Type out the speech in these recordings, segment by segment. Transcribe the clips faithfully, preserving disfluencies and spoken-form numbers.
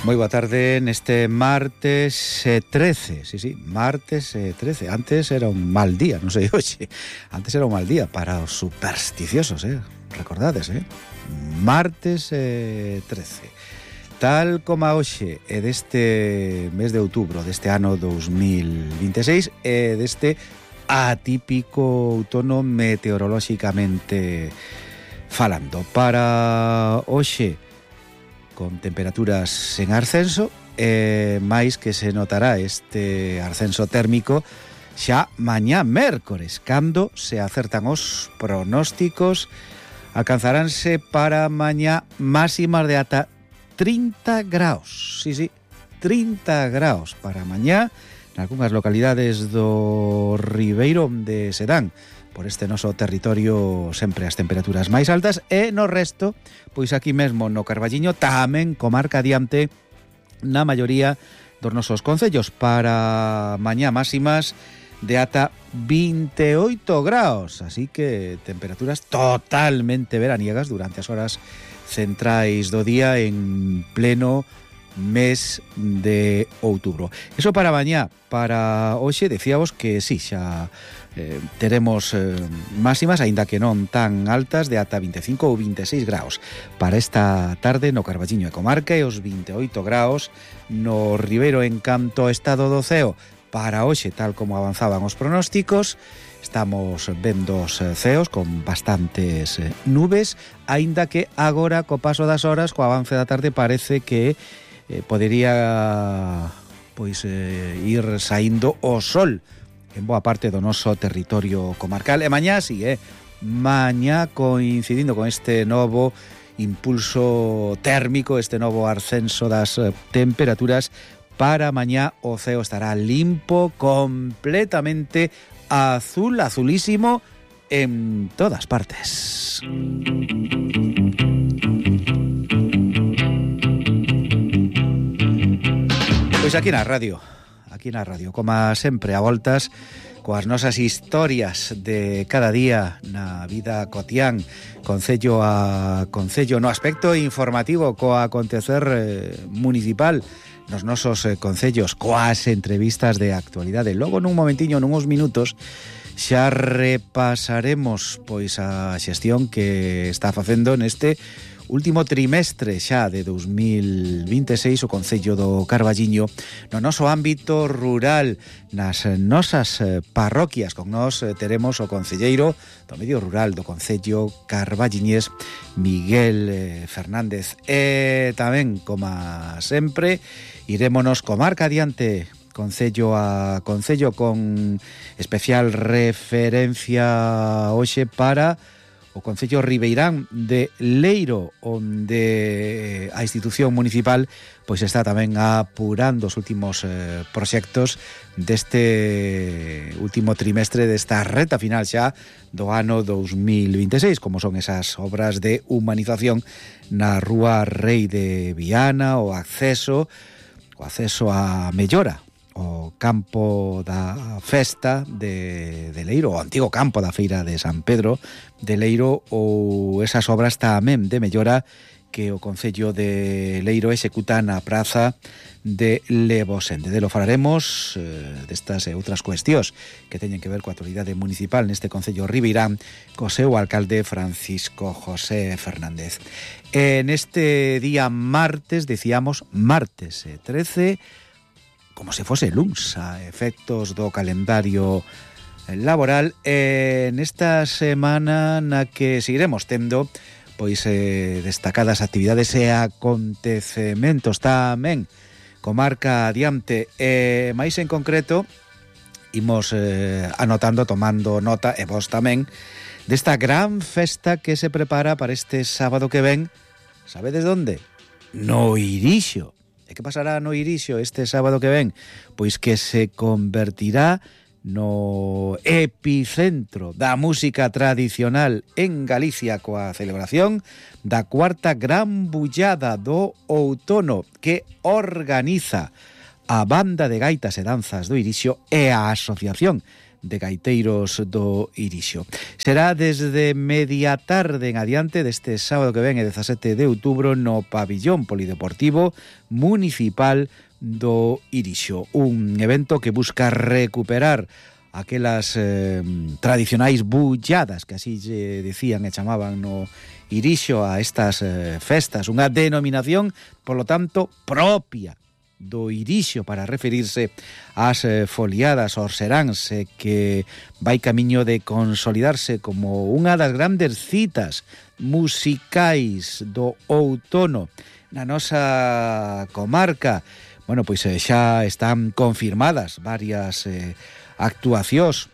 Moi boa tarde neste martes eh, trece, sí, sí, martes eh, trece. Antes era un mal día, non sei hoxe. Antes era un mal día para os supersticiosos, eh? Recordades, eh? Martes eh, trece. Tal como a hoxe é deste mes de outubro deste ano dos mil vinte e seis e deste atípico outono meteorolóxicamente falando. Para hoxe, con temperaturas en ascenso, e máis que se notará este ascenso térmico xa mañá mércores, cando se acertan os pronósticos, alcanzaránse para mañá máximas de ata trinta graus. Sí, sí, trinta graus para mañá nalgunhas localidades do Ribeiro de Sedán. Por este noso territorio sempre as temperaturas máis altas, e no resto, pois aquí mesmo no Carballiño, tamén comarca adiante na maioría dos nosos concellos, para mañá máximas de ata vinte e oito graus, así que temperaturas totalmente veraniegas durante as horas centrais do día en pleno mes de outubro. Eso para mañá. Para hoxe decíamos que sí, xa eh, teremos eh, máximas, aínda que non tan altas, de ata vinte e cinco ou vinte e seis graus para esta tarde no Carballiño e comarca, e os vinte e oito graus no Ribeiro. En canto ao estado do ceo, para hoxe, tal como avanzaban os pronósticos, estamos vendo os ceos con bastantes nubes, aínda que agora, co paso das horas, co avance da tarde, parece que eh, podería pois eh, ir saindo o sol en boa parte do noso territorio comarcal. E mañá si, eh, mañá coincidindo con este novo impulso térmico, este novo ascenso das temperaturas, para mañá o ceo estará limpo, completamente azul, azulísimo en todas partes. Pois aquí na radio, aquí na radio, como sempre, a voltas coas nosas historias de cada día na vida cotián, concello a concello, no aspecto informativo, coa acontecer eh, municipal nos nosos eh, concellos, coas entrevistas de actualidade. Logo nun momentiño, nuns minutos, xa repasaremos pois a xestión que está facendo neste último trimestre xa de dos mil vinte e seis o concello do Carballiño no noso ámbito rural, nas nosas parroquias. Con nós teremos o concelleiro do medio rural do concello carballiñés, Miguel Fernández, e tamén, como sempre, irémonos comarca adiante, concello a concello, con especial referencia hoxe para o concello ribeirán de Leiro, onde a institución municipal pois está tamén apurando os últimos eh, proxectos deste último trimestre, desta reta final xa do ano dos mil vinte e seis, como son esas obras de humanización na rúa Rei de Viana, o acceso o acceso a mellora o campo da festa de, de Leiro, o antigo campo da feira de San Pedro de Leiro, ou esas obras tamén de mellora que o concello de Leiro executa na praza de Levosende. De lo falaremos eh, destas e outras cuestións que teñen que ver coa actualidade municipal neste concello ribeirán co seu alcalde Francisco José Fernández. En este día martes, decíamos martes eh, trece, como se fose luns a efectos do calendario laboral, e nesta semana na que seguiremos tendo pois eh, destacadas actividades e acontecementos tamén comarca adiante, e máis en concreto imos eh, anotando, tomando nota, e vos tamén, desta gran festa que se prepara para este sábado que ven. Sabedes onde? No Irixo. E que pasará no Irixo este sábado que ven? Pois que se convertirá no epicentro da música tradicional en Galicia, coa celebración da cuarta gran bullada do outono, que organiza a Banda de Gaitas e Danzas do Irixo e a Asociación de gaiteiros do Irixo. Será desde media tarde en adiante deste sábado que ven, e dezasete de outubro, no pabillón polideportivo municipal do Irixo. Un evento que busca recuperar aquelas eh, tradicionais bulladas que así lle decían e chamaban no Irixo a estas eh, festas, unha denominación, polo tanto, propia do Irixo para referirse ás eh, foliadas aos seráns, eh, que vai camiño de consolidarse como unha das grandes citas musicais do outono na nosa comarca. Bueno, pois eh, xa están confirmadas varias eh, actuacións,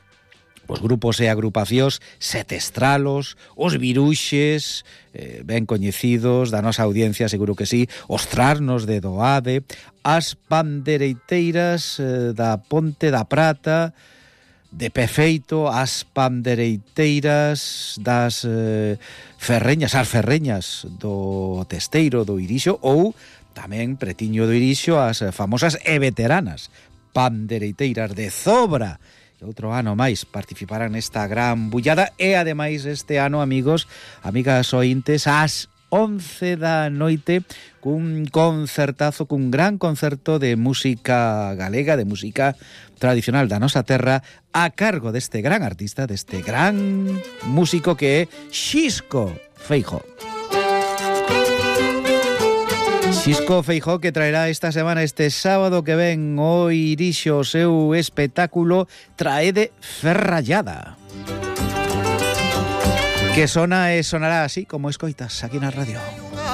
os grupos e agrupacións Setestralos, os Viruxes, eh, ben coñecidos da nosa audiencia, seguro que sí, os Trasnos de Doade, as Pandereiteiras eh, da Ponte da Prata, de Pefeito, as Pandereiteiras das eh, Ferreñas, as Ferreñas do Testeiro do Irixo, ou tamén pretiño do Irixo as famosas e veteranas Pandereiteiras de Zobra. E outro ano máis participarán nesta gran bullada, e ademais este ano, amigos, amigas ointes, ás once da noite, cun concertazo, cun gran concerto de música galega, de música tradicional da nosa terra, a cargo deste gran artista, deste gran músico que é Xisco Feijóo. Xisco Feijóo, que traerá esta semana, este sábado que ven, o Irixo, o seu espectáculo Traede Ferrallada, que sona e sonará así como escoitas aquí na radio.